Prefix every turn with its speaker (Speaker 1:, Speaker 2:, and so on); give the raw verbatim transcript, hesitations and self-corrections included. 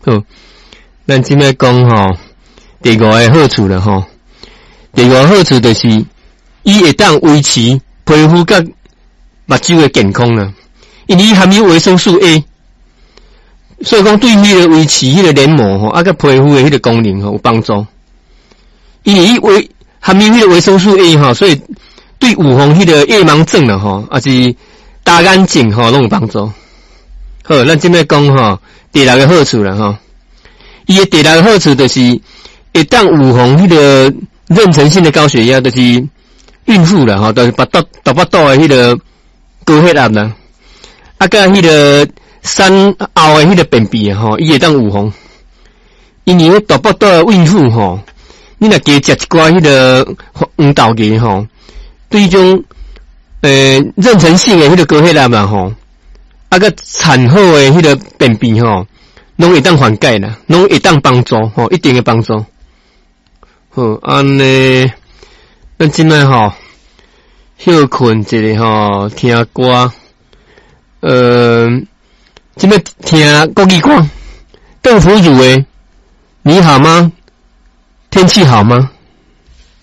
Speaker 1: 好，咱這擺講吼，第五个好處啦吼。第五个好處就是，伊會當維持皮膚佮目睭的健康啦。因為伊含有維生素 A，所以講對彼个維持彼个黏膜吼，啊佮皮膚的彼个功能吼有幫助。因為伊維含有彼个維生素 A 吼，所以對預防彼个夜盲症啦吼，抑是乾眼症吼，攏有幫助。好，咱這擺講吼，第六个好處啦吼。伊的第六个好處就是會當預防彼个妊娠性的高血壓，就是孕婦啦吼，就是腹肚大腹肚的彼个高血壓啦。啊，佮彼个產後的彼个便秘吼，伊會當預防。因為大腹肚的孕婦吼，你若加食一寡彼个黃豆芽吼，對這種呃妊娠性的彼个高血壓嘛吼，啊佮產後的彼个便秘吼，攏會當緩解啦，攏會當幫助吼，一定會幫助。好，按呢，咱這擺吼歇睏一下吼，聽歌。呃，這擺聽國語歌，鄧福如的《你好嗎？天氣好嗎？》